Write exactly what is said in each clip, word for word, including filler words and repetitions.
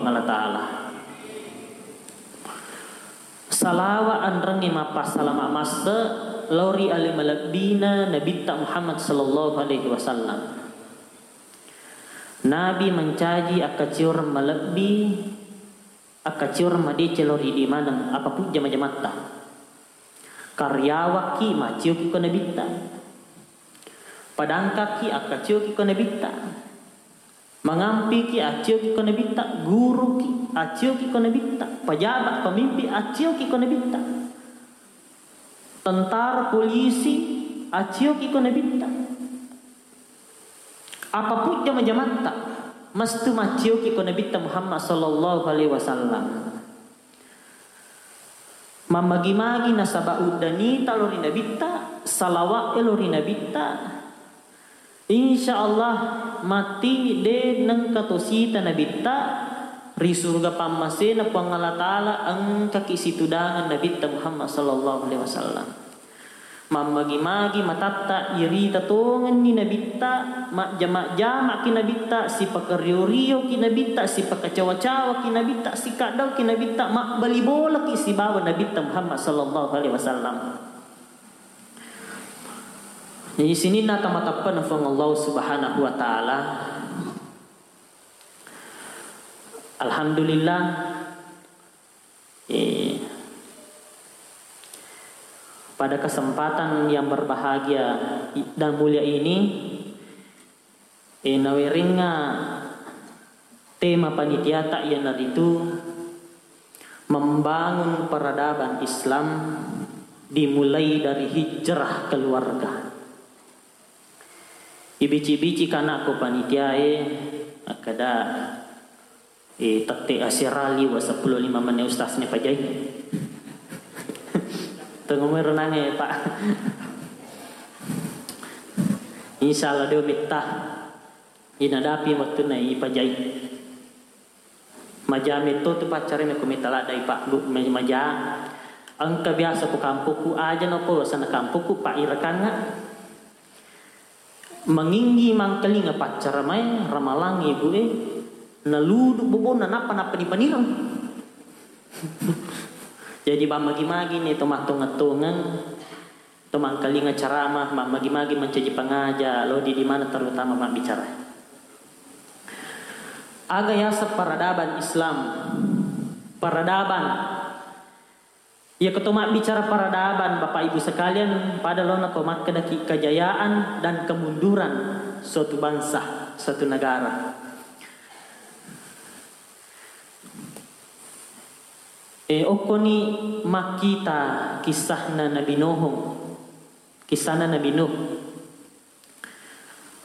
Allah Ta'ala. Salawa anrengnge mappassalama masse lao ri ale malebbina Nabitta Muhammad sallallahu alaihi wasallam. Nabi mancaji akkacioreng malebbi, akkacioreng madeceng lao ri idi maneng, apa pujja majamatta. Karyawanki macioki ko Nabitta. Padangkaki akkacioki ko Nabitta. Mangampiki acioki ko Nabitta, guruki acioki ko Nabitta, pejabat pemimpin acioki ko Nabitta, tentara polisi acioki ko Nabitta. Apapun jama-jamatta, mestu macioki ko Nabitta Muhammad sallallahu alaihi wasallam. Mammagi-magi nasaba uddanita lao ri Nabitta, salawa'e lao ri Nabitta. Insya Allah matti de nengka tosita Nabitta, ri surga pammasena Puang Allah Ta'ala engkaki situdangan Nabitta Muhammad sallallahu alaihi wasallam. Mammagi-magi matatta irita tongenni Nabitta, majjama-jamaki Nabitta, sipakario-rioki Nabitta, sipakacawa-cawaki Nabitta, sikaddauki Nabitta, mabbali bolaki sibawa Nabitta Muhammad sallallahu alaihi wasallam. Jadi sininna kamateppena Puang Allah Subhanahu wa Ta'ala. Alhamdulillah, Eh, pada kesempatan yang berbahagia i-, dan mulia ini, eh, nawerengnga tema panitiata iyanaritu membangun peradaban Islam dimulai dari hijrah keluarga. Ibici-bici kanakku panitiae, akkeda, Eh, tette asera liwa seppulo lima menit ustaz ne pajai. Tengomero nange, Pak. Insya Allah deo metta. Inadapi wettunna ipajai. Maja metto tu paccare meko metta ladda, Pak, Bu, me-, maja. Engka biasa ko kampokku aja noko sana kampokku, Pak, irekangnga. Manginggi mangkalinga paccaramae, ramalang ibu e, naludu bobonna, nappa, nappa nipanireng. Jadi, mammagi-magi ni to mattongeng-tongeng, to mangkalinga ceramah, mammagi-magi mancaji pangaja, lao di, di mana terutama mabbicara. Aga yaseng peradaban Islam, peradaban Iyakitu mabbicara peradaban, Bapak Ibu sekalian, pada laona ko makkedaki kejayaan dan kemunduran suatu bangsa, suatu negara. E, okkoni makkita kisahna Nabi Nuh. Kisahna Nabi Nuh.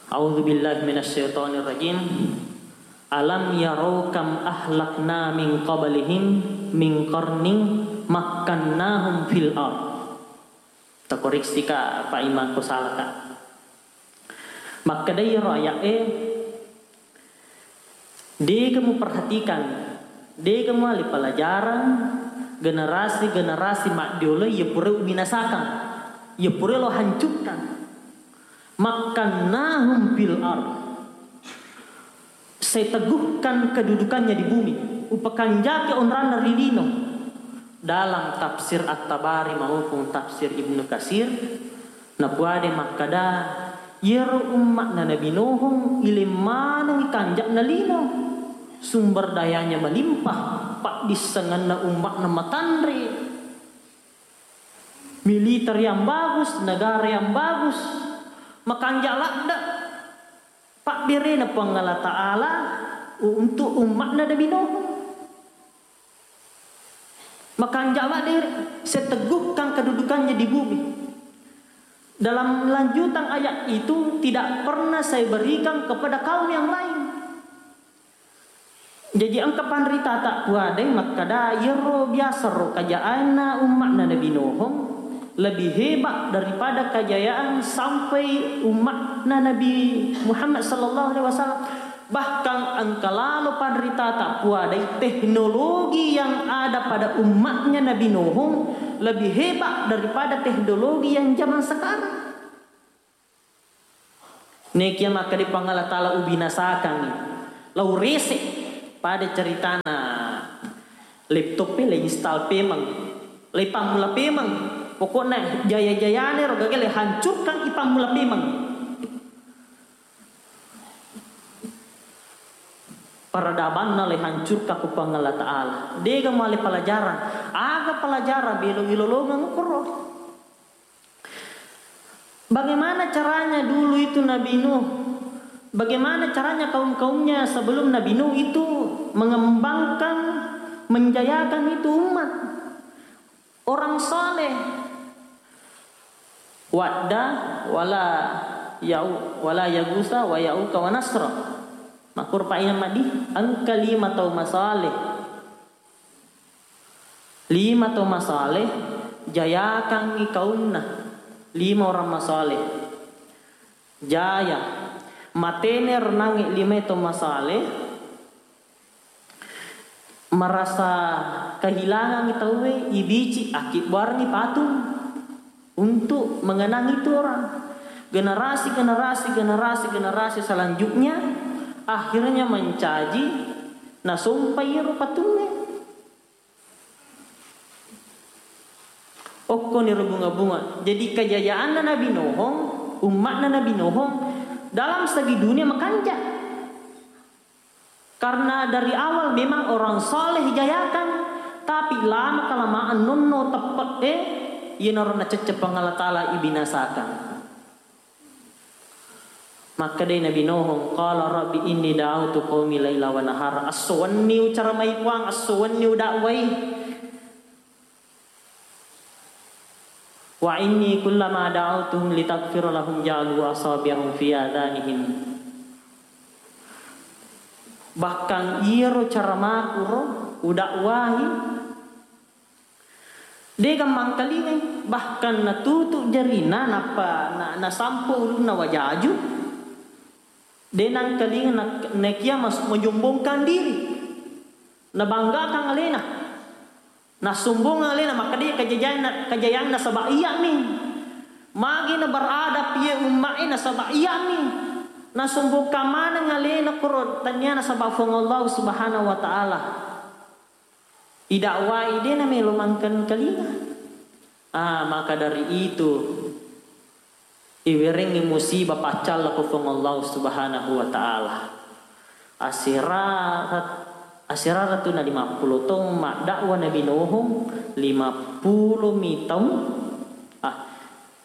A'udzubillahi minasyaitonirrajim. Alam yarau kam ahlakna min qablihim min qarnin makkannahum fil ard. Takoreksika, Pak Imam, ko salaka. Makkedai ro aya'e, Dega muperhatikan, dega muali pelajaran generasi-generasi maddiolo iya pura ubinasakang, iya pura lo hancurkan. Makkannahum fil ard. Saya teguhkan kedudukannya di bumi. Upakanjaki onranna ri lino. Dalam tafsir At-Tabari maupun tafsir Ibnu Katsir, napuade makkada, iyaro umma'na Nabi Nuh ileng maneng kanja'na lino. Sumber dayanya melimpah, paddissengenna umma'na matanre. Militer yang bagus, negara yang bagus, makanja' ladde' pabberena Puang Allah Ta'ala untuk umma'na Nabi Nuh. Makanja' ladde' seteguhkan kedudukannya di bumi. Dalam lanjutan ayat itu tidak pernah saya berikan kepada kaum yang lain. Jaji engka panritata puadai makkada, iyaro biasa ro kajaanna umma'na Nabi Nuh lebih hebat daripada kejayaan sampai umma'na Nabi Muhammad sallallahu alaihi wasallam. Bahkan engka lalo panritata puadai teknologi yang ada pada umma'nya Nabi Nuh lebih hebat daripada teknologi yang zaman sekarang. Nekia makkeda Puang Allah Ta'ala ubinasakangngi, lao rese'. Pada ceritana laptop e le install pemeng, le pammula pemeng. Pokokna jaya-jayane ro gaga le hancurkan i pammula pemeng. Peradabanna le hancurkan ku Puang Allah Ta'ala. Dega male pelajaran. Aga pelajaran belo ilolongeng koro. Bagaimana caranya dulu itu Nabi Nuh? Bagaimana caranya kaum-kaumnya sebelum Nabi Nuh itu mengembangkan, menjayakan itu umat? Orang saleh. Wadda wala yau wala yagusa wa yauka wa nasra. Makur paina madi engka lima tau masaleh. Lima tau masaleh jayakangngi kaumna. Lima orang masaleh jaya. Matene renangngi lima tau masaleh, merasa kehilangan tauwe, ibici, akkibbuarengngi patung untuk mengenang itu orang. Generasi, generasi, generasi, generasi selanjutnya akhirnya mencaji nasompai ero patungnge. Okkoni ro bunga-bunga. Jadi kejayaanna Nabi Nuhong, umma'na Nabi Nuhong dalam segi dunia makanja. Karena dari awal memang orang saleh jayakan, tapi lama kelamaan nonno teppe'e, iyanaro nacecce Puang Allah Ta'ala ibinasakan. Makkedai Nabi Nuh, qala rabbi inni da'autu qaumi laila wa nahara. Esso wenni ucaramai Puang, esso wenni udakwai. Wa inni kullama da'autuhum litaghfira lahum ja'alu asabi'ahum fi adanihim. Bahkan iyaro caramaku ro udakwai, de gammangkalingai, bahkan natutu jarina nappa na-, nasampo ulunna wajaju, de nangkalinga na-, nakia mas-, menyombongkan diri, nabanggakan alena. Nassombongeng alena, makkeda kajajayanna, kajayanna nasaba iyami. Magi na beradab iye umma'e nasaba iyami. Nasombongkan maneng alena koro tania nasaba Puang Allah Subhanahu wa Ta'ala. Idakwai de namelo mangkengkalinga. Ah, maka dari itu, iwerengngi musibah paccalla ko Puang Allah Subhanahu wa Ta'ala. Asera-, aserara tu na lima puluh taung maddakwa Nabi Nuh, lima puluh mi taung. Ah,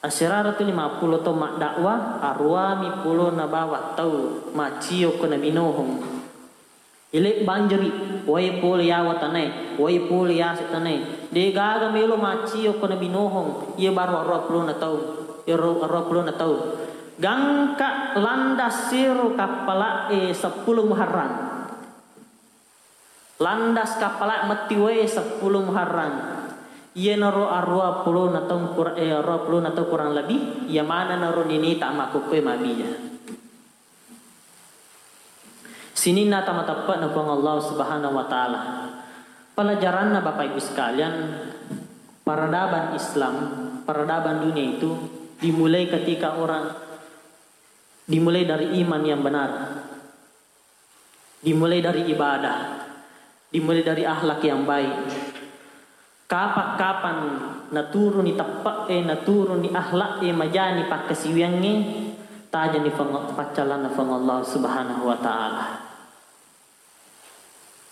aserara tu lima puluh taung maddakwa, aruami pulo na bawang tau macio ko Nabi Nuh. Ile banjiri, wae pole yawa tanae, wae pole yase tanae. De gaga melo macio ko Nabi Nuh, iye baru aruwa pulona taung, iyaro aruwa pulona taung. Gangka landas sero kappala'e seppulo Muharram. Landas kappala metti wae seppulo Muharram. Iyanaro aruwa pulona taung kur-, eh, aruwa pulona taung kurang lebih, iya manenaro ninita makkukkoe mabbija. Sininna tau mateppe'na Puang Allah Subhanahu wa Ta'ala. Pelajaranna, Bapak Ibu sekalian, peradaban Islam, peradaban dunia itu dimulai ketika orang, dimulai dari iman yang benar, dimulai dari ibadah, dimulai dari akhlak yang baik. Kapang-kapang naturuni teppe'e, naturuni akhlak e, majani pakkasiwiangnge, tajani peng-, paccallanna Puang Allah Subhanahu wa Ta'ala.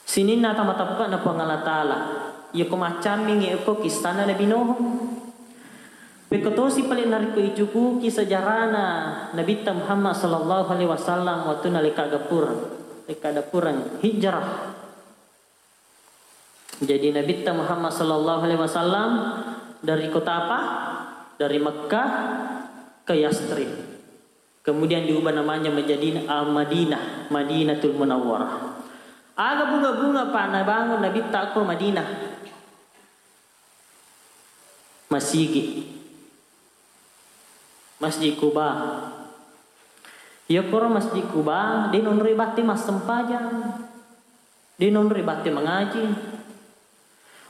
Sininna tau mateppe'na Puang Allah Ta'ala, iyako maccammingi eko kissanna Nabi Nuh. Pekko tosi pale narekko icukuki sejarana Nabitta Muhammad sallallahu alaihi wasallam wettunna lekka gapureng, lekka gapureng hijrah. Jadi, Nabitta Muhammad sallallahu alaihi wasallam dari kota apa? Dari Mekkah ke Yathrib. Kemudian diubah namanya menjadi, ah, Madinah, Madinatul Munawwarah. Aga bunga-bunga pa nabangun Nabitta ko Madinah? Masigi. Masjid Quba. Iyakkoro Masjid Quba, de nonroi batte massempajang. De nonroi batte mangaji.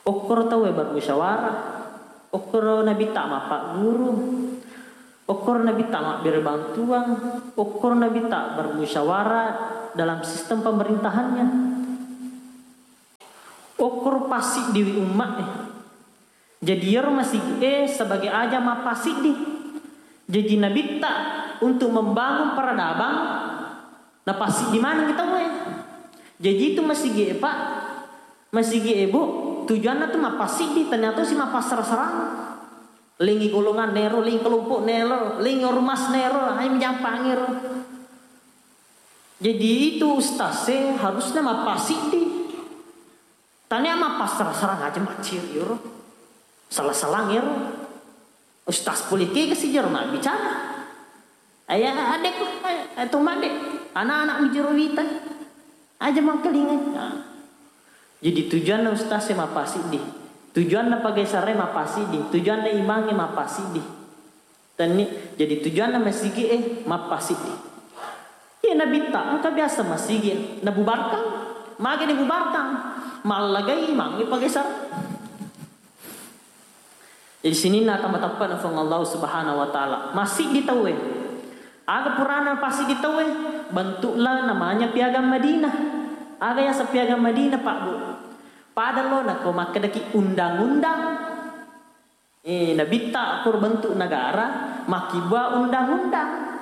Okkoro tauwe bermusyawarah. Okkoro Nabitta mappagguru. Okkoro Nabitta mabbere bantuan. Okkoro Nabitta bermusyawarah dalam sistem pemerintahannya. Okkoro passiddiwi umma e. Jadi iyaro masigi'e sebagai aja mappasiddi. Jadi nabitta untuk membangun peradaban, napassiddi maneng tauwe. Jadi itu masigi'e, Pak, masigi'e, Bu, tujuanna tu mappasiddi, ternyata si mappassara-sarang. Lengi golongan nero, lengi kelompok nero, lengi ormas nero, ai menjampang ero. Jadi itu ustaz e harusnya mappasiddi. Tania mappassara-sarang aja macciri ero. Salah-salang ero. Ustaz pole kega sijaro mabbicara. Aya adekku, aya, aya to madde. Anak-anak mijero wita. Aja mangkalingai. Nah. Jadi tujuanna ustaz e mappasiddi. Tujuanna pagaisara e mappasiddi. Tujuanna imang e mappasiddi. Tenni, jadi tujuanna masigi'e mappasiddi. Iya nabitta, engka biasa masigi nabubarkang, magi dibubarkang, mallagai imangnge pagaisara. Jadi sininna tama teppana Puang Allah Subhanahu wa Ta'ala. Massiddi tauwe. Aga purana passiddi tauwe? Bentuklah namanya Piagam Madinah. Aga yaseng Piagam Madinah, Pak, Bu? Pada lo nako makkedaki undang-undang. Eh, nabitta ko bentuk negara, makkibua undang-undang.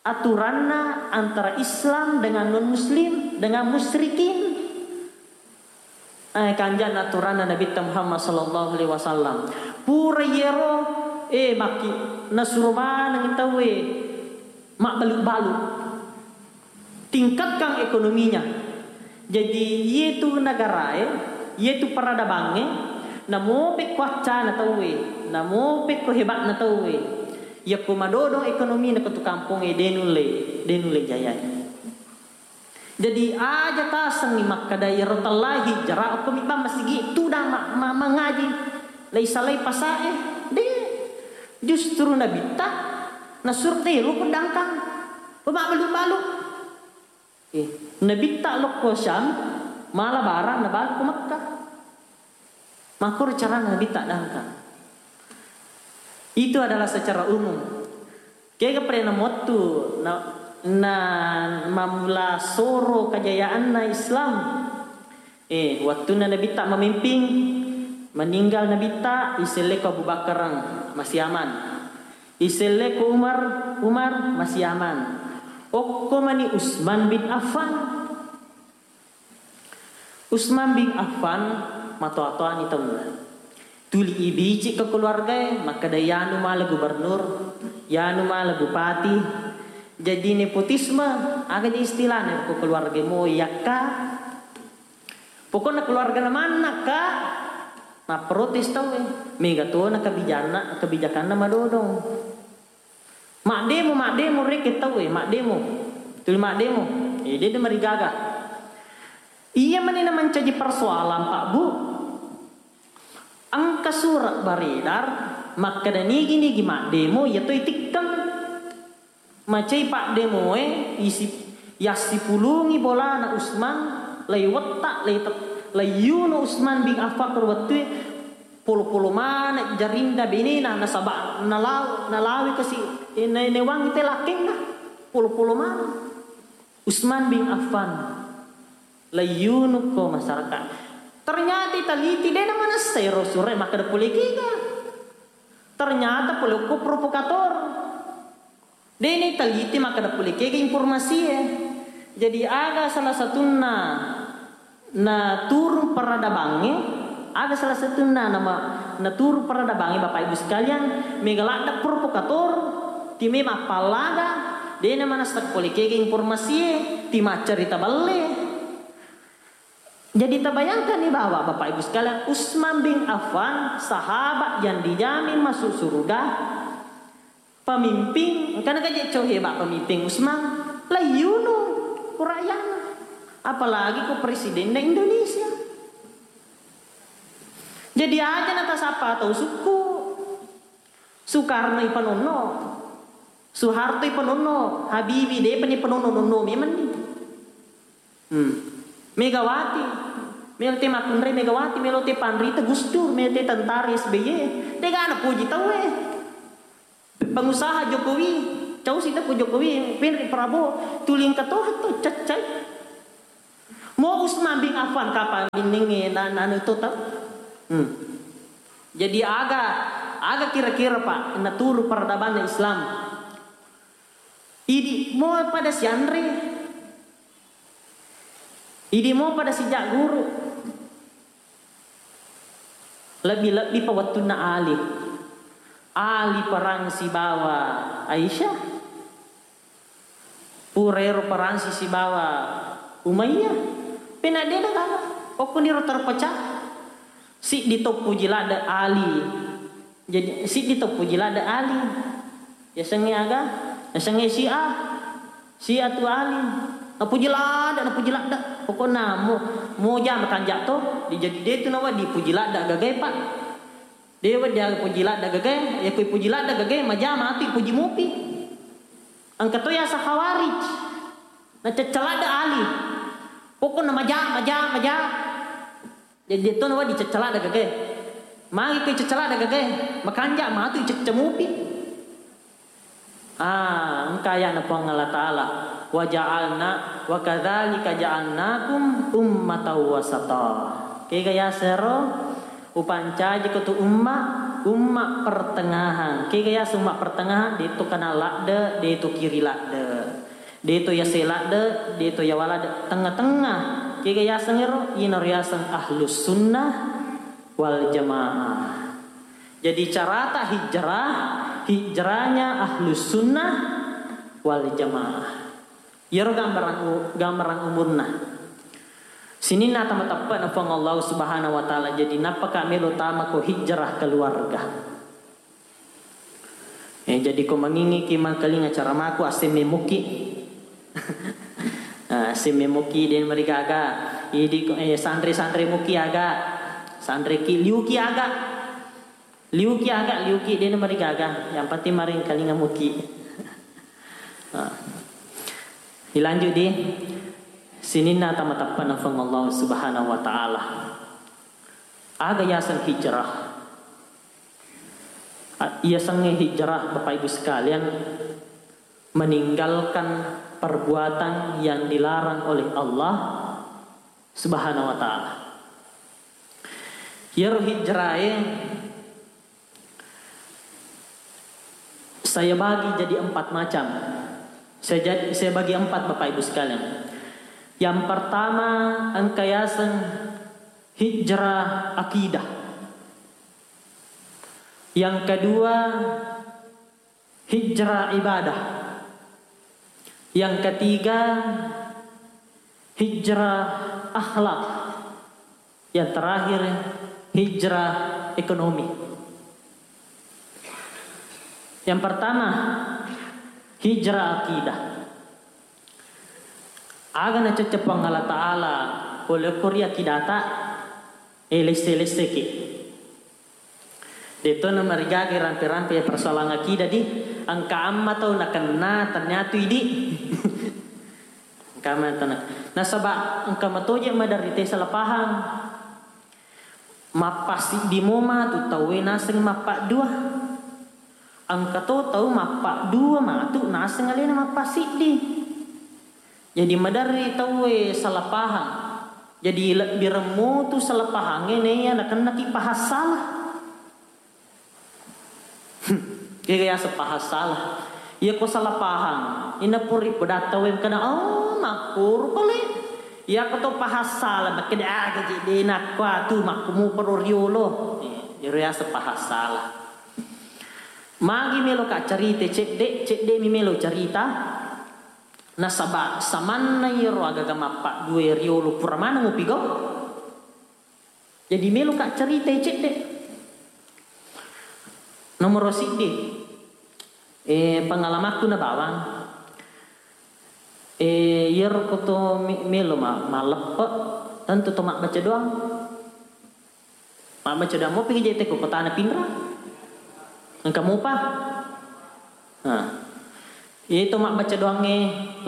Aturanna antara Islam dengan non-muslim, dengan musyrikin. Eh, kanjana aturanna Nabitta Muhammad sallallahu alaihi wasallam. Pura yero, eh, makki nasuro maneng tauwe mabbalu-balu. Tingkatkan ekonominya. Jadi, iyetu negarae, iyetu peradabangnge, namo pekko accana tauwe, namo pekko hebatna tauwe. Yakko madodong ekonomina ko tu kampongnge, de nulle, de nulle jayai. Jadi, aja tasengngi makkeda iyaro tellahi jara okko mibbang masigi tudang ma-, ma-, mangaji. Laisalai pasae, de. Justru nabitta nasuro de lo pedangkang. Pemabbalu-balu. Eh, nabitta lokko Syam, mala barang nabalu ko Mekkah. Makkoro carana nabitta dangkang. Itu adalah secara umum. Kega pada namottu na, na mamula soro kajayaanna Islam. Eh, wettunna nabitta mamimping, meninggal nabitta, iselleko Abu Bakareng, masiaman. Iselleko Umar, Umar, masiaman. Okko mani Utsman bin Affan. Utsman bin Affan matoa-toani taunna. Tuli ibici ke keluargae, makkeda yanu mala gubernur, yanu mala bupati. Jadi nepotisme, aga je istilahna ko keluarga mo yakka. Pokokna keluargana manna, Kak, mapprotes tauwe. Mega tona kebijanna, kebijakanna madodong. Maddemo, maddemo rekeng tauwe, maddemo. Tuli maddemo. Eh, de marigaga. Iya mani na mancaji persoalan, Pak Bu. Engka surat beredar makkeda nigi-nigi maddemo, iya toi tikkeng. Macai paddemoe isi, yassipulungi bolana Usman, lai wetta, lai te-, lai yunu Usman bin Affan ko wettue, polo-polo maneng jarinna benena, nasaba nalaw-, nalawi kasi, eh, na-, naewangi te lakkenna, polo-polo maneng. Usman bin Affan, lai yunu ko masyarakat. Ternyata iteliti, de namanessa ero sure makkeda pole kega. Ternyata pole ko provokator. De naiteliti makkeda pole kega informasie. Jadi aga salah satunna naturung peradabangnge, aga salah satunna nama naturung peradabangnge, Bapak Ibu sekalian, mega ladde provokator, time mappallaga, de namanessa pole kega informasie, ti maccarita belle. Jadi tabayangkanni bahwa Bapak Ibu sekalian, Utsman bin Affan, sahabat yang dijamin masuk surga, pemimpin, engkana kaje cau hebat pemimpin Utsman, laiyunu ku rakyatna. Apalagi ku presidenna Indonesia. Jadi aja natasappa tau sukku. Soekarno ipanonno, Soeharto ipanonno, Habibie depa ni panonno, nonno memenni. Hmm. Megawati, melo te makkunrai Megawati, melo te panrita Gus Dur, melo te tentara S B Y, dega napoji tauwe. Pengusaha Jokowi, cau sita ku Jokowi, penri Prabowo, tuli engka toha to caccai. Mo Utsman bin Affan kapang binningnge na, na anu to tau. Hmm. Jadi aga, aga kira-kira, Pak, naturu peradabanna Islam. Idi mo pada sianre. Idi mo pada sijagguru. Lebbi-lebbi pa wettunna Ali. Ali perang sibawa Aisyah. Pura ero perang si sibawa Umayyah. Pena de' nagana. Okkoniro terpecah. Siddi to puji ladde' Ali. Jadi, siddi to puji ladde' Ali. Yasengnge aga? Yasengnge Syiah. Syiah tu Ali. Napuji ladde', napuji ladde'. Pokokna mo, mo jama kanja' to, di-, jadi de' tu nawedding puji ladde' gagae, Pak. De' wedding aga puji ladde' gagae, ya kui puji ladde' gagae, majama atu puji mupi. Engka to yaseng Khawarij. Nacecca ladde' Ali. Pokokna maja, maja, maja. Jadi, de' to nawedding cecca ladde' gagae. Magi ko cecca ladde' gagae, makanja' matu cecca mupi. Ah, engka aya'na Puang Allah Ta'ala, "Wa ja'alna, wa kadzalika ja'alnakum ummatan wasata." Kega yasero, upancaji ko tu umma, umma pertengahan. Kega yaseng umma pertengahan, de' to kana ladde', de' to kiri ladde'. De' to yase ladde', de' to yawa ladde', tengnga-tengnga. Kega yaseng ero? Iyanaro yaseng Ahlus Sunnah wal Jamaah. Jadi carata hijrah, hijrahnya Ahlus Sunnah wal Jamaah. Iyaro gambaran u-, gambaran umurna. Sininna tama teppe'na Puang Allah Subhanahu wa Ta'ala. Jadi nappaka melo tama ko hijrah keluarga. Eh, jadi ko mangingiki mangkalinga caramaku, assemme muki. Ah, assemme muki, de' marigaga. Idi ko, eh, sanre-sanre muki aga. Sanreki, liuki aga. Liuki aga, liuki, de' marigaga. Yang penting maringkalinga muki. Ah. Dilanjut di sininna tama teppe'na Puang Allah Subhanahu wa Ta'ala. Aga yaseng hijrah? A-, iyasengnge hijrah, Bapak Ibu sekalian, meninggalkan perbuatan yang dilarang oleh Allah Subhanahu wa Ta'ala. Iyaro hijrae saya bagi jadi empat macam. Saya jad-, saya bagi empat, Bapak Ibu sekalian. Yang pertama, engka yaseng hijrah akidah. Yang kedua, hijrah ibadah. Yang ketiga, hijrah akhlak. Yang terakhir, hijrah ekonomi. Yang pertama, hijrah akidah. Aga nacocco Puang Allah Ta'ala pole ko ri akidata, eh, lesse-lesseki. De'to namarigaga rampe-rampe persoalan akidah di, engka amma tau nakenna, ternyata idi. Engka amma tau nak-, nasaba engka matoje maderita salah paham. Mappasiddi mo matu tauwe naseng mappaddua. Engka to tau mappaddua matu naseng alena mappasiddi. Jadi maderri tauwe salah paham. Jadi lebbireng mutu salah pahangnge naiya nakennaki pahang salah. Kega yaseng pahang salah. Iya ko salah pahang, ina puri pedatta we kana, oh, makkuru pale. Iya ko to pahang salah, makkeda aga je de nakko atu makkumu paro riolo. Eh, iyaro yaseng pahang salah. Magi melo ka carita cedde, cedde mi melo carita. Nasaba samanna iyaro agaga mappaddua riolo pura maneng upigau. Jadi meloka ceritai cedde. Nomoro siddi, eh, pengalamakku na bawang. Eh, iyaro ko to me-, melo ma-, malleppe, tentu to mabbaca doang. Mabbaca doang mopi jete ko kotana pinra. Engka mopa. Nah, itu mabbaca doangnge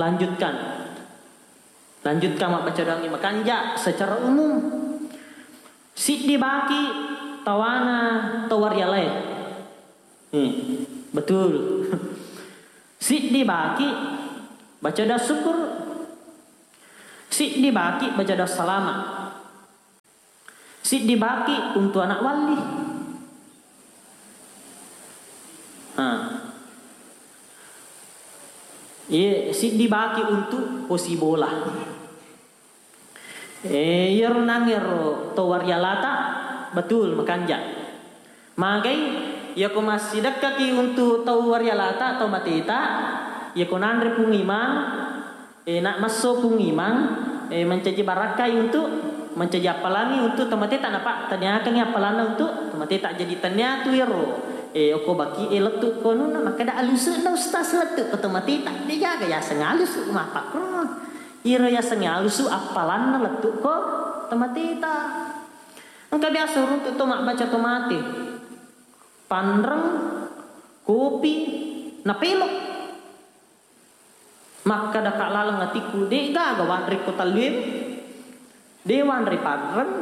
lanjutkan. Lanjutkan mabbaca doangnge makanja secara umum. Siddi baki tawana tawarialae. Hmm, betul. Siddi baki baca doa syukur. Siddi baki baca doa salama. Siddi baki untu anak walli. Ha. Iye, siddi baki untu posi bola. Eh, iyaro nangero to warialata, betul, makanja. Magai, iyako massidekkaki untu tau warialata, tau mateta, iyako nanre Pung Imang, eh, na masso Pung Imang, eh, mancaji barakkai untu, mancaji appalangi untu tau mateta, napa taniakangi appalanna untu tau mateta. Jadi tania tu ero, eh, oko baki e lettu konuna, makkeda alusu na ustaz lettu ko tau mateta, degaga yaseng alusu mappakro. Iro yasengnge alusu appalanna lettu ko tau mateta. Engka biasa uruntu to mabbaca to mate. Panreng, kopi, napelo. Makkada ka laleng atikku, de gaga wanre ko tallue. De wanre panreng,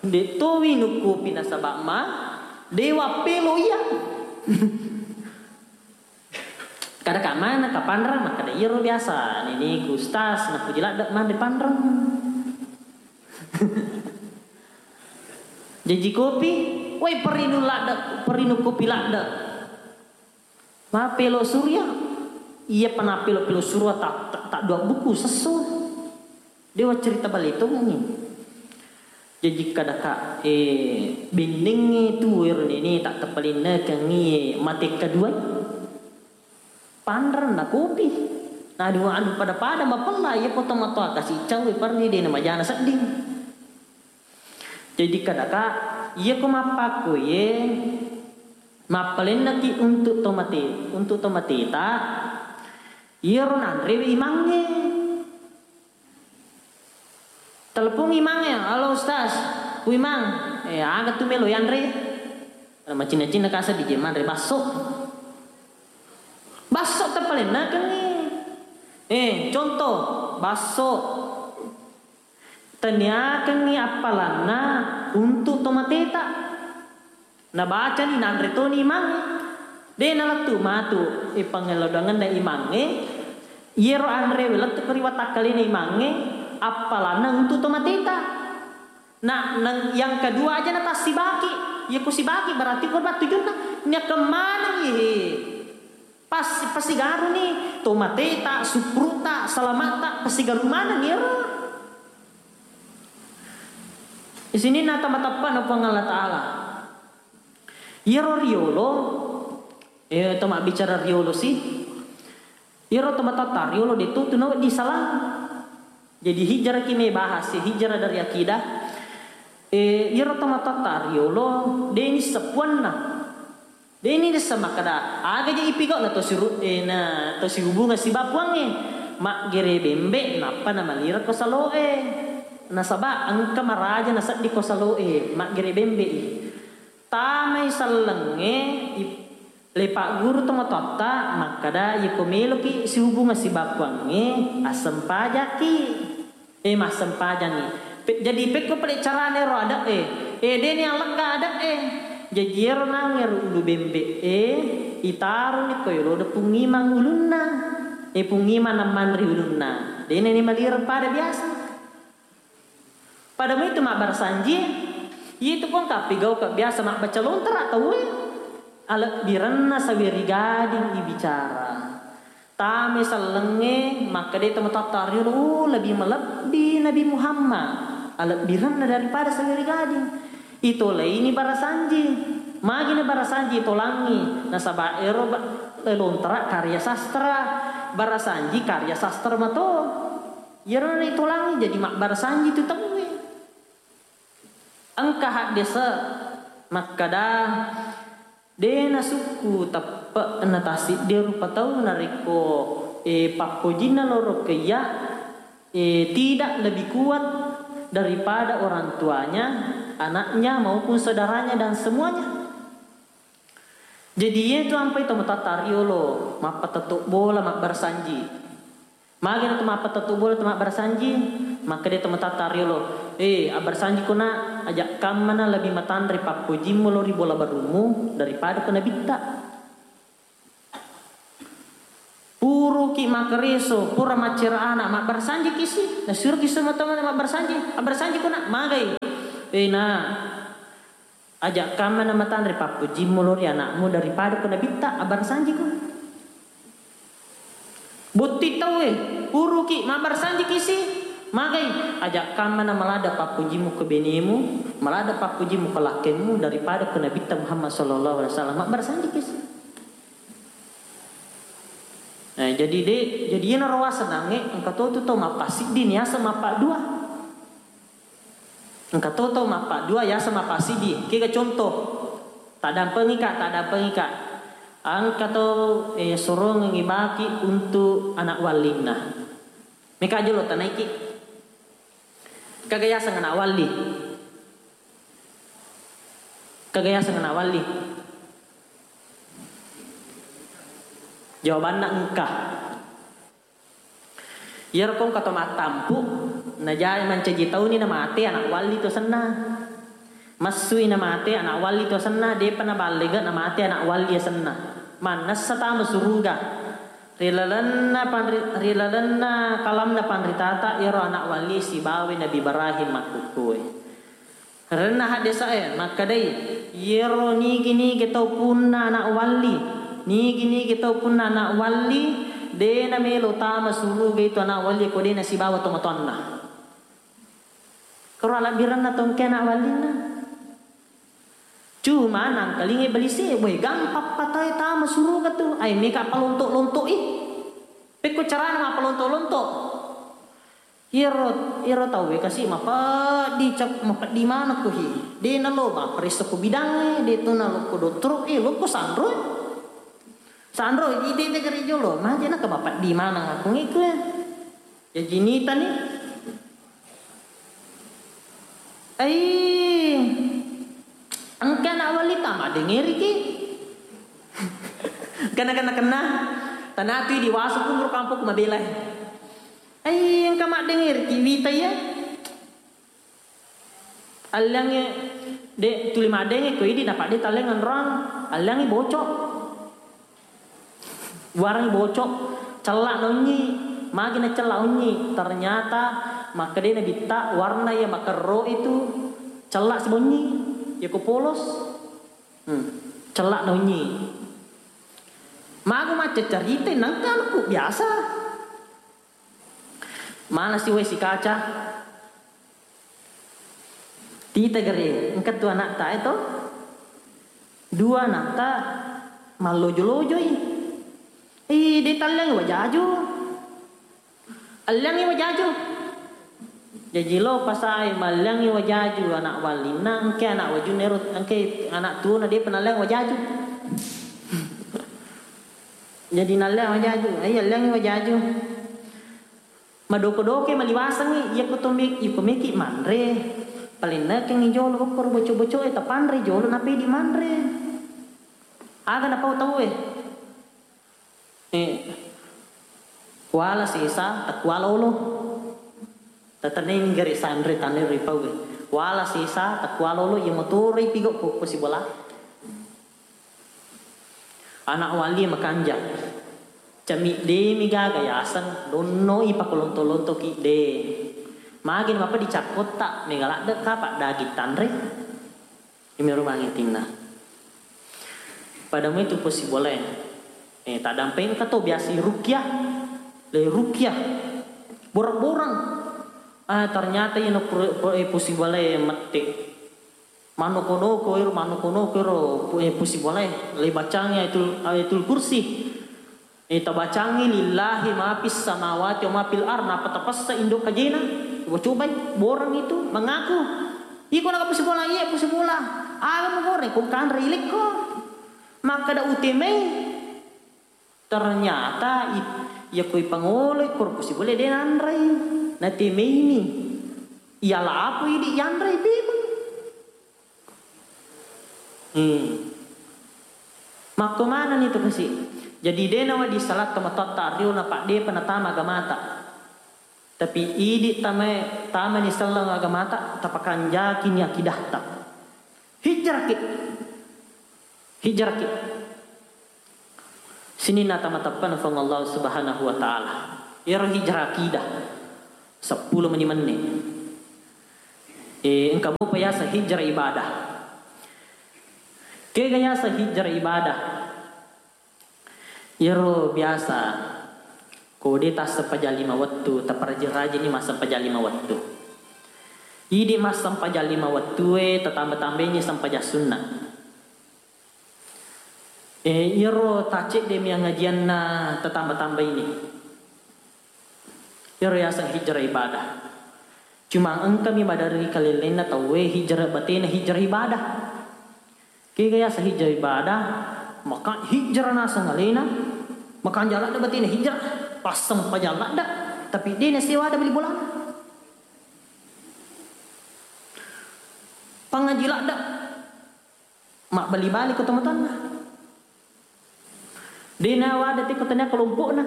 de to winung kopi nasaba ma, de wappelo iya. Kada ka mana ka panrang, makkada iyaro biasa neneku ustaz napuji ladde manre panrang. Jaji kopi, woi perinu ladde, perinu kopi ladde. Mapelo surya, iya pana pelo-pelo surya tak tak dua buku sesso. Dewa cerita bale tongengngi. Jaji kadaka, eh, bennengnge tu ero nene tak tepalennekengngi mate kedua. Panreng na kopi. Na dua anu pada-pada mapella iya ko tomatoa kasi cawe parni de na majana sedding. Jaji kadaka iya ko mappakko ye mappalennaki untuk tomate, untuk tomateta iyaro nanrewe imangnge. Telepon imangnge, "Halo Ustaz, ku Imang, eh, aga tu melo yanre?" Macinna-cinna kasa di manre basso. Basso tepalennakengngi. Eh, contoh, basso. Taniakengngi appalanna untuk tomateta. Nabacani nanre toni imangnge. De nalettu matu, eh, pangellodangenna imangnge. Iyaro anrewe lettu ko ri watakkalena imangnge, appalanna untuk tomateta. Nah, nang yang kedua aja na tassibaki. Iya ko sibaki berarti korban tujunna. Niakkeng maneng, eh. Pas, pasigaruni tomateta, supruta, salamata, pasigaru maneng iyaro. Isininna tama-, tappana Puang Allah Ta'ala. Iyaro riolo, eh, to mabbicara riolo si. Iyaro tomatoatta riolo de tu, tu nawedding salang. Jadi hijrah ki me bahas, hijrah dari akidah. Eh, iyaro tomatoatta riolo de nisseng puanna. Deni dessa makkeda, aga je ipigau na to siru-, eh, na to sihubungeng siba Puangnge. Maggere bembe nappa namalireng ko saloe. Nasaba engka maraja nasedding ko saloe, maggere bembe i. Tamai sellengnge ip-, le pagguru tomatoatta makkeda, iyako meloki sihubungeng siba Puangnge, assempajaki. Eh, massempajangngi. Pe-, jadi pekko pale carane ro ade'e. Eh, deni allegga ade'e. Jaji ero nangero ulu bembe'e, itaroni ko yolo de Pung Imang ulunna. Eh, Pung Imang nammanri ulunna. Deni ni malireng pada biasa. Pada muitu mabbarasanji, itu pong kapigau ke biasa mabbaca lontara tauwe. Alebbirenna saweri gading ibicara. Tame sellengnge, makkeda tomatoatta riolo, "Oh, lebih melebbi Nabi Muhammad, alebbirenna daripada saweri gading." Itolaini barasanji. Magi na barasanji itolangi, nasaba ero ba-, lontara karya sastra, barasanji karya sastra mato. Iyaro na itolangi jadi mabbarasanji tu tauwe. Engka haddese makkeda, de nasukku teppe'na tassiddi rupa tau narekko, eh, pappojinna loro keiya, eh, tidak lebih kuat daripada orang tuanya, anaknya maupun saudaranya dan semuanya. Jadi, iyetu ampai tomatoatta riolo, mappatetto bola, mabbarasanji. Magi na to mappatetto bola, to mabbarasanji, makkeda tomatoatta riolo, "Eh, abbarasanji ko na, aja kammana lebih matanre pappojimmu lao ri bola barummu daripada ko nabitta." Puro makkareso, pura maccera ana, mabbarsanjiki si. Nasuroki semua teman mabbarsanji. Abbarsanjiko, Nak, magai. Eh, Nak, aja kamma na matanre pappujimmu lao ri anakmu daripada ko nabitta, abbarsanjiko. Botting tauwe, uruki, mabbarsanjiki si. Magai, aja kamma na malada pappujimmu ko benemu, malada pappujimmu ko lakkemu daripada ko nabitta Muhammad sallallahu alaihi wasallam, mabbarsanjiki si. Eh, jadi de, jadi iyana ro wasenangnge, engka to tu tau mappasiddi, niaseng mappaddua. Engka to tau mappaddua, yaseng mappasiddi. Kega contoh, taddampengika, taddampengika. Engka to, eh, sorongengi baki untuk anak wallinna. Meka jolo tanaiki. Kaga yaseng anak walli? Kaga yaseng anak walli? Jawabanna engka. Iyaro ko engka to mattampu, najai mancaji tauni namate anak walli to senna. Massui namate anak walli to senna, depa naballega namate anak walli senna. Mannessa tama suruga. Ri lalenna panri-, ri lalenna kalamna panritata iyaro anak walli sibawa Nabi Ibrahim makkukkuwe. Renna haddesae makkedai, iyero nigi-nigi tau punna anak walli, nigi-nigi tau punna anak walli, de namelo tama suruga itu anak walli ko de nasibawa tomatoanna. Kero alabbirenna tongke anak wallinna. Cuma nangkalingai balise, boe gampang patai tama suruga tu. Ai meka palonto-lonto i. Pekko carana mappalonto-lonto. Iyaro, iyaro tauwe kasi mapeddi cap-, mapeddi maneng ko hi. De nalo mapparesso ko bidangnge, de to nalo ko dottoro, eh, lo ko sanro. Sanro, ide de gare jolo, maje naka mapeddi maneng aku ngiku ya. Jaji nitani. Ai, engka anak walita maddengeriki. Kena, kena, kena. Tanatui diwasu kumur kampung mabelai. Ai, engka maddengeriki wita iya. Alliangnge de tuli maddenge ko idi napadde talleng enroang. Alliangnge bocok. Warngi bocok, cella naunyi, magi na cella unyi. Ternyata makkeda nabitta warna iya makerro itu cella sibonyi, iya ko polos. Hmm, cella naunyi. Magu macca carita nengka anakku biasa. Mana si wae si kaca? Tita gare, engka tu anakta e to. Dua anakta mallojo-lojoi. Ih, de talliangi wajaju. Alliangi wajaju. Jaji lo pasai malliangi wajaju anak wallinna, engke anak wajunna ero, engke anak tuona depa nalliang wajaju. Jadi nalliang wajaju, ai alliangi wajaju. Madoko-doke maliwasengngi, iyako to me-, iko meki manre, palennekengngi jolo okkoro boco-bocoe, tapanre jolo, napedi manre. Aga napau tauwe? Eh, wala sesa, takuala olo. Tataneng gare sanre tanre ripauwe. Wala sesa, takuala olo, iya motoroi pigo ko, ko sibola. Anak walli makanja. Camiddemi gaga yaseng, donnoi pakolonto-lontoki de. Magi mapa dicakkotta, mega ladde kapa daging tanre. Imi rumangi tinna. Pada muitu posibolae. Eh, taddampengka to biasa rukyah. Le rukyah. Borang-borang. Ah, ternyata ino pro-, pro-, eh, posibolae mette. Manoko-noko ero, manoko-noko ero, pu-, eh, pusi bolae, le bacangi Ayatul, Ayatul Kursi. Eh, tabacangi lillahi ma fis samawati wa ma fil ard, napa tapassa indo kajena. Coba-cobai, borang itu mengaku. Iko naka pusi bola, iya pusi bola. Aga mu goreng, ko kanre ilekko. Makkada utemai. Ternyata it-, iya ko ipangolo ikko ro pusi bolae de nanrei. Natemeini. Iya lapo idi yanrei pemeng. Hmm. Makko manenni tu kasi. Jadi de nawedding salah tomatoatta rio napaddepa natama agamata. Tapi idi tamae, tamani selleng agamata, tapakanjakini akidahta. Hijrahki. Hijrahki. Sininna tama-, tappana Puang Allah Subhanahu wa Ta'ala. Iyaro hijrah akidah. Seppulo meni menne. Eh, engka mopa yaseng hijrah ibadah. Kega yaseng hijrah ibadah? Iyaro biasa, ko de tassempajang lima wettu, taparajin-rajinni massempajang lima wettu. Idi massempajang lima wettue, tatamba-tambaini sempajang sunna. Eh, iyaro tacedde mi angajianna tatamba-tambaini. Iyaro yaseng hijrah ibadah. Cuma engkami maderri kalellenna tauwe hijrah batena hijrah ibadah. Kega yaseng hijrah ibadah, maka hijrah naseng alena, makanja ladde batena hijrah, passempajang ladde, tapi de nasewa ada beli bolana. Pangaji ladde, mabbali-bali ko tomatoanna. De nawada tiko tania kelompokna.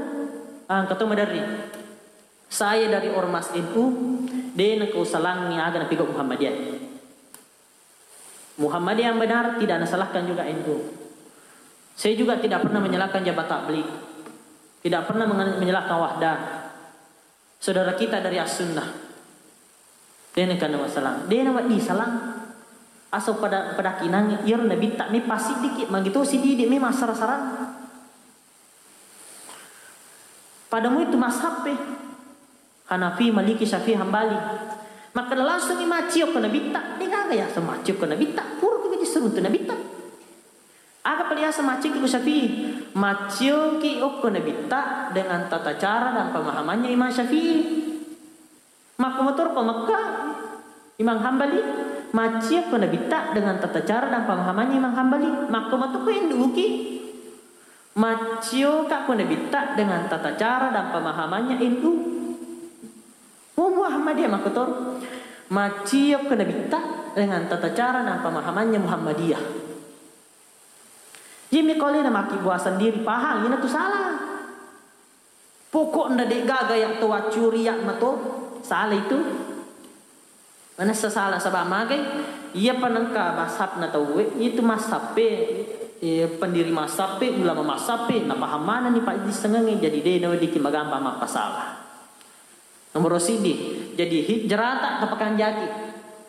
Ah, engka to maderri. Saya dari Ormas N U, de nengka usalangi aga napigau Muhammadiyah. Muhammadiyah yang benar tidak nasalahkan juga N U. Saya juga tidak pernah menyalahkan Jabhat Tabligh. Tidak pernah mengen-, menyalahkan Wahdah. Saudara kita dari As-Sunnah. De nengka nawasalang. De nawedding salang. Aso pada, pada kinangi, iyaro nabitta me pasiddiki, magi to sididi me massara-sarang. Pada mu itu mazhabe. Hanafi, Maliki, Syafi'i, Hambali. Makkeda langsung i maccio ko nabitta, de gaga yaseng maccio ko nabitta, pura ko gaji seruntu nabitta. Aga pale yaseng maccioki ko Syafi'i? Maccioki okko nabitta dengan tata cara dan pemahamannya Imam Syafi'i. Makko motor ko Mekka, Imam Hambali, maccio ko nabitta dengan tata cara dan pemahamannya Imam Hambali. Makko motor ko N U ki, maccio ka ko nabitta dengan tata cara dan pemahamannya N U. Mu Muhammadiyah makkotor, maccio ko nabitta dengan tata cara dan pemahamannya Muhammadiyah. Iyami kaulena makkibua sendiri pahang, ina tu salah. Pokokna de gaga ya to waccuri ya mato, salah itu. Manessa salah saba magai, iya panengka mazhabna tauwe, itu mazhabbe, eh, pendiri mazhabbe, ulama mazhabbe, napaham manenni pajissengengnge, jadi de naweddikki magampa mappasala. Nomoro siddi, jadi hijrata tapakanjaki.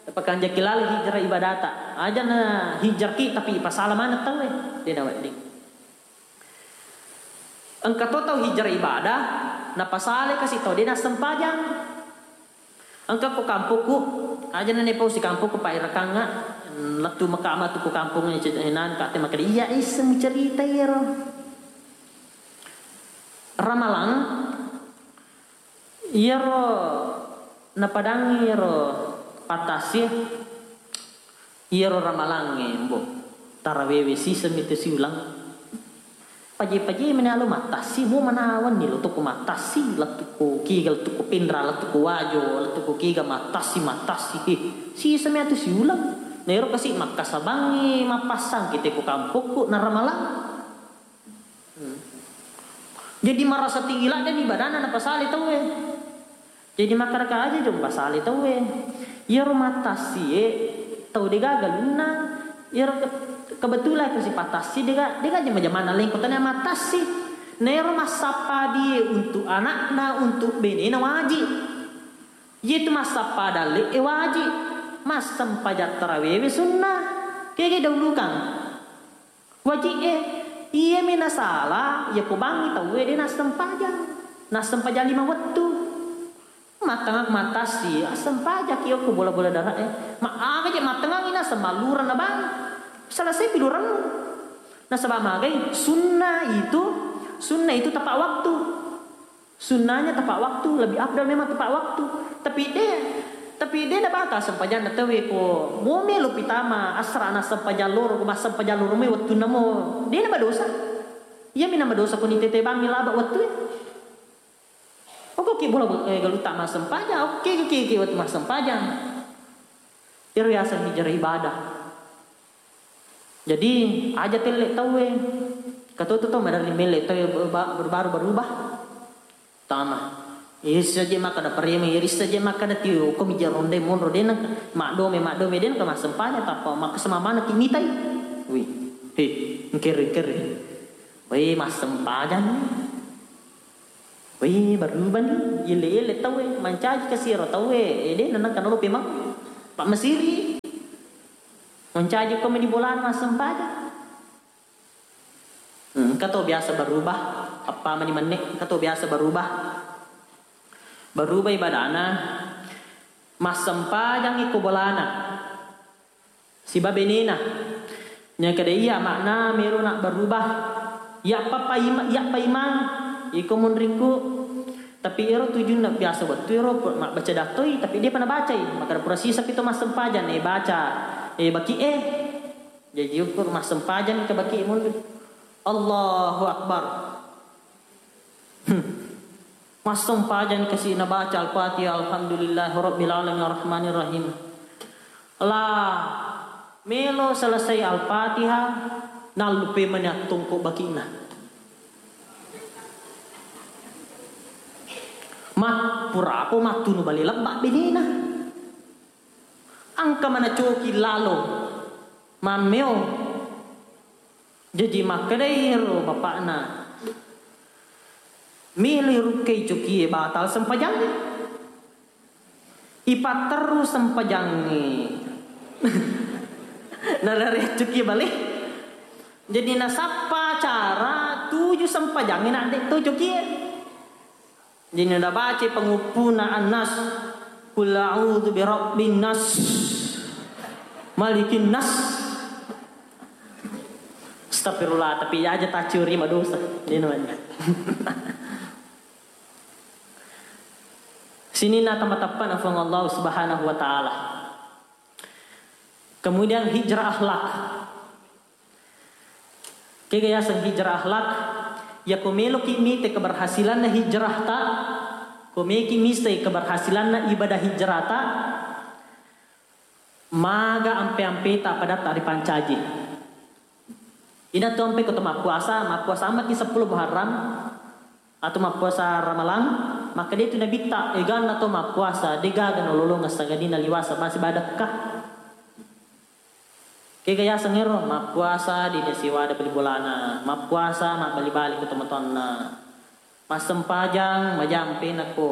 Tapakanjaki laleng hijrah ibadata. Aja na hijraki tapi ipasala maneng tauwe, de nawedding. Engka to tau hijrah ibadah, napasale kasi tau de nassempajang. Engka ko kampokku, aja na nepau si kampokku, Pak, irakangnga, lettu maka matu ko kampong, eh, nan kate makkeda, iya, isseng cerita iyaro. Ramalang, iyaro napadangi iyaro pattasi, iyaro ramalangnge, mbo, tarawewe siseng mitu siulang. Paje-paje meni alo mattasi, mo manawanni lo toko mattasi, lettu ko kiga, lettu ko Pinra, lettu ko Wajo, lettu ko kiga mattasi, mattasi. Eh, siseng mi atu siulang. Na ero kasi makkasabangngi mappassang kita ko kampokku na ramalang. Hmm. Jadi marasa tinggi ladde ni badanna napasale tauwe. Jadi makkadaka aja jong pasale tauwe. Iyaro mattassie tau de gaga galunna, iyaro ke-, kebetulan ko sipattassi de ga, de ga jama-jamanna lengko tania mattassi. Naero massappadie untuk anakna, untuk benena wajib. Iyatu massappa dalle e wajib. Massempajang tarawewe sunnah. Kege daulukang. Wajib e, iyami nasala, iya ko bangngi tauwe de nassempajang. Nassempajang lima wettu. Mattengang mattassi, assempajaki okko bola-bola dara e. Ma aga je mattengangi naseng mallureng na bang. Selesai pi lurengmu. Nasaba magai, sunnah itu, sunnah itu tepat waktu. Sunnahnya tepat waktu, lebih afdal memang tepat waktu. Tapi de, tapi de na bata sempajanna tauwe ko mo melo pitama asra na sempajang loro, ko massempajang loro mai wettunna mo. De na badosa. Iya mi na badosa ko ni tete bangngi laba wettu e. Oke, oke, bola, eh, galutta massempajang, oke, oke, oke, wettu massempajang. Ero yaseng hijrah ibadah. Jadi, aja telle tauwe. Katoto to maderri melle tauwe ba-, ba-, baru-baru berubah. Tama. Issa je makkada pareme, issa je makkada tio, ko mija ronde monro dena, maddome, maddome dena, ke massempajang, tappa makka semamana ki mitai. Wih, he, engkere, engkere. Wé, massempajang ni. Wé, berubah ni. Yelle-yelle tauwe, mancaji kasi ero tauwe. Eh, dé' nanangka nalo pemang. Pak Mesiri. Mancaji ko meni bolana massempajang. Hmm, engka to biasa berubah. Apa mani menne, engka to biasa berubah. Berubah ibadana. Massempajang iko bolana. Siba benena. Nyakada iya makna melo na berubah. Iya papa ima-, iya pa imang. Iko munrikku. Tapi ero tujunna biasa wettu ero pu-, mabbaca dattoi, tapi dé' pa nabacai. Makkada pura sisa pi to massempajang, eh, baca. Eh, baki, eh. Jaji ukur massempajang ke baki munri. Allahu Akbar. Hmm. Massempajang kasi nabaca Al-Fatihah, Alhamdulillahirabbil alamin, arrahmanirrahim. La melo selesai Al-Fatihah, nallupe mani attongko bakina. Mat-, purapo mattunu bale lebba benena. Engka mana coki lalo mammeo. Jaji makkedai ero bapakna, "Melo rukkai cokie batal sempajangnge. Ipatterru sempajangnge." Nalari cokie bale. Jadi nasappa cara tuju sempajangnge na de' to cokie. Jadi nabacai panguppuna An-Nas, "Qul a'udzu birabbin nas, malikin nas." Astagfirullah, tapi aja tacuri madosa. Dia namanya. Sininna tama-, tappa na Puang Allah Subhanahu wa Ta'ala. Kemudian hijrah akhlak. Kega yaseng hijrah akhlak? Yako meloki mite keberhasilanna hijrahta, ko meki mistai keberhasilanna ibadah hijrahta, maga ampe-ampeta padatta ripancaji. Ina tu ampe ko to mappuasa, mappuasa ammaki seppulo Muharram, atau mappuasa Ramalang, makkeda tu Nabitta, eganna to mappuasa, degaga nalolongeng sangadinna liwasa masi badakka. Kega yaseng ero, mappuasa dina siwada bali bolana, mappuasa mabbali-bali ko tomatoanna, massempajang majampena ko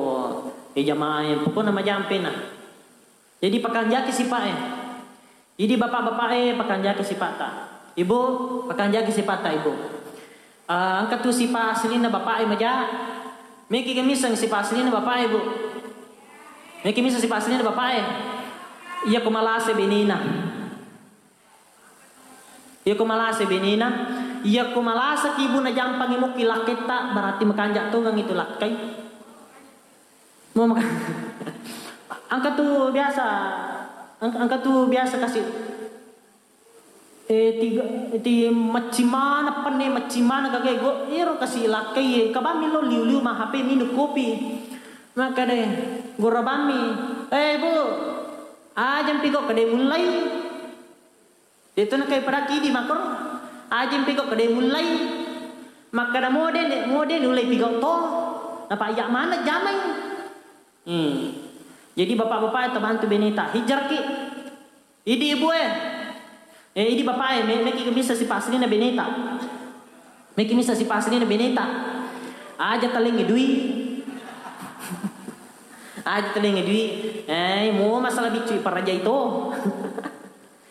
e jamaah e, pokokna majampena. Jadi pakanjaki sipa'e. Idi bapak-bapa'e pakanjaki sipa'ta. Ibu, pakanjaki sipa'ta, Ibu. Ah, engka tu sipa aslinna bapa'e maja. Meki ga misseng sipa aslinna bapa'e, Bu? Meki misseng sipa aslinna bapa'e? Iya ko malase benena. Iya ko malase benena. Iya ko malaseki, Bu, najampangi mukki lakketta, berarti makanja tongeng itu lakkai. Mau maka-, engka tu biasa, engka, engka tu biasa kasi, eh, tiga, ti macci mana penne, macci mana gaga go, ero kasi lakkai, eh, kabammi lo liu-liu ma H P minum kopi. Maka deh, gora bammi, "Eh, Bu, ajang pigo kade mulai." Itu nakai padaki di makoro. Ajeng piko kede mulai. Makkada mode, mode nulai piko to. Napa iya mana jamai. Hmm. Jadi bapak-bapak tabantu beneta hijrah ki. Idi ibu eh. Eh, idi bapak eh, me-, meki bisa sipaslina beneta. Meki misa sipaslina beneta. Aja talengi dui. Aja talengi dui. Eh, mo masalah biccu parajai to.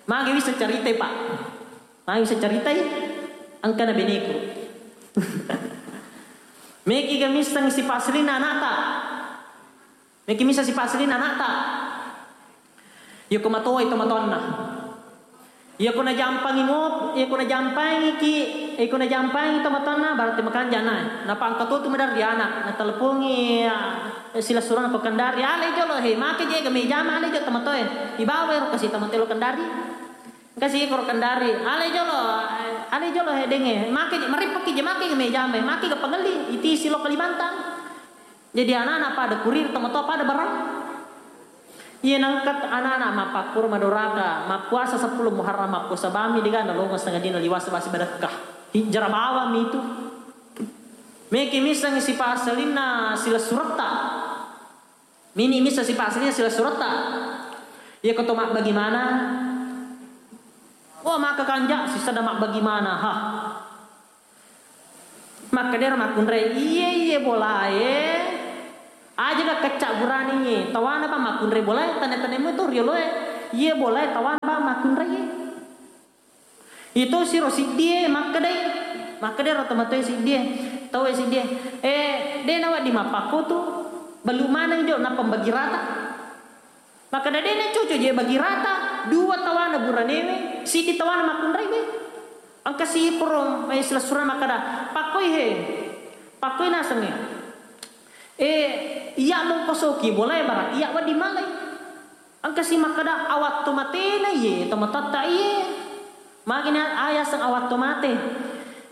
Magi bisa caritai, Pak? Magi bisa caritai? Engkana beneku. Meki ga misseng sipaslina anakta. Meki misa sipaslina anakta. Yako matowai tomatoanna. Yako najampangi mo, yako najampangiki, yako najampangi tomatoanna, berarti makanja na. Napangka to tu maderri anak, natelepongi, ah, silessureng ko Kendari, "Ale jolo he, make je ga mejama ale jolo tomatoe." Ibawa ero kasi tomatoe lo Kendari. Kasi ko ro Kendari, "Ale jolo, ale jolo he denge, make je, marippaki je, make ga mejama, make ga pangelli, itisi lo Kalimantan." Jadi anak-anak pada kurir, tomatoa pada barang. Iya nangkat anak-anak mappakkuro madoraka, mappuasa seppulo Muharram, mappuasa bami dega nalongo setengah dina liwasa basi badakka. Hijrah bawang mi itu. Meki misseng sipaselinna silessuretta. Mini misseng sipaselinna silessuretta. Iya ko to mabbagi mana? Oh, maka kanja sisada mabbagi mana, ha. Makkedaro makkunrai, "Iye, iye bolae, aja ga kecca burani, tawana bang makkunrai bolae, tane-tane mu to rioloe, iye bolae tawana bang makkunrai." Itu siro siddie makkedai, makkedaro tomatoe siddie, taue siddie, "Eh, de nawedding mappakko tu, bellu maneng jo nappa bagi rata." Makkeda, "De na cucu je bagi rata, dua tawana buranewe, siddi tawana makkunrai we." Engka si poro, eh, silessureng makkeda, "Pakkoi he, pakkoi nasengnge. Eh, iya mongko soki bolae, berarti iya wedding malai." Engka si makkeda, "Awattu matena iye, tomatoatta iye." Magina ayaseng awattu mate.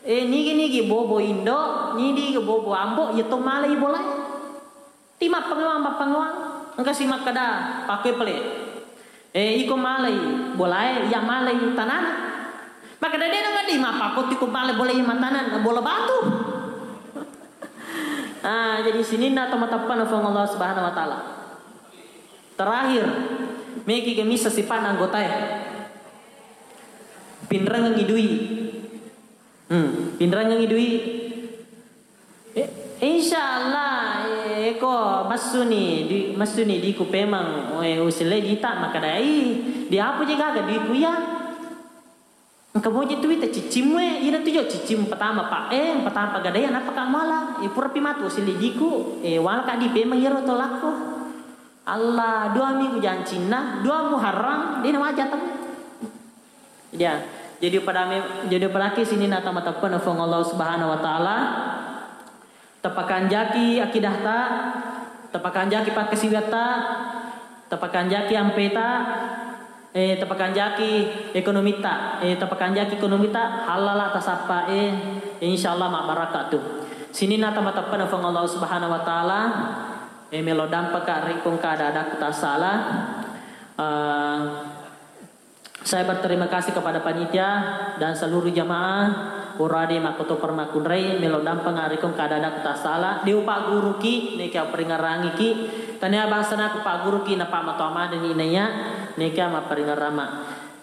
Eh, nigi-nigi bobo indo, nigi-nigi bobo ambo, iya to malai bolae. Ti mappangawang, mappangawang. Engka si makkeda, "Pakkoi pale. Eh, iko malai bolae, iya malai tanana." Makkeda, "De na wedding mappakko tu ko malai bolae iya matanana, bola batu." Ah, jadi sininna to mateppe'na Puang Allah Subhanahu wa Ta'ala. Terakhir, meki gemisa sifat anggotae. Pinrengengi dui. Hmm, pinrengengi dui. Eh, insya Allah, eh, ko massuni, di, massuni diku pemang, eh, usile dita makadai, diapu je gaga diku ya. Engka moje tu wita cicimmu, eh, ina tu jo cicim pertama, Pak, eh, pertama pagadai, napa kamala, eh, pura pi matu usile diku, eh, wala ka di pemang iyaro to lakko. Allah, dua minggu jancinna, dua Muharram, dena wajah temu. Ya, jadi pada me-, jadi padaki sininna to mateppe'na Puang Allah Subhanahu wa Ta'ala. Tapakanjaki akidahta, tapakanjaki pakkasiwiatta, tapakanjaki ampeta, eh, tapakanjaki ekonomita, eh, tapakanjaki ekonomita, halala tasappa, eh, insyaallah mabbarakka tu. Sininna to mateppe'na Puang Allah Subhanahu wa Ta'ala, eh, melo dampaka ri kongka ada-adakku tassala. Eh, Saya berterima kasih kepada panitia dan seluruh jamaah purade makkoto permakkunrai melo dampeng arikong kada-ada tasala, de upagguruki, neka peringarangiki, tania bangsana ku pagguruki, napa matoa madeni naya, neka maperingarama.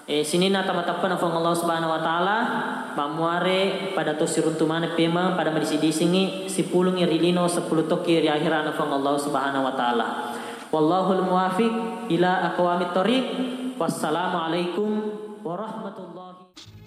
Eh, sininna tama teppena Puang Allah Subhanahu wa Ta'ala, mammuare pada to siruntu maneng pemeng, pada madisi-disingi, sipulungi ri lino, sepuluh tokki ri akhirana Puang Allah Subhanahu wa Ta'ala. Wallahul muwafiq ila aqwamit thoriq. Wassalamualaikum warahmatullahi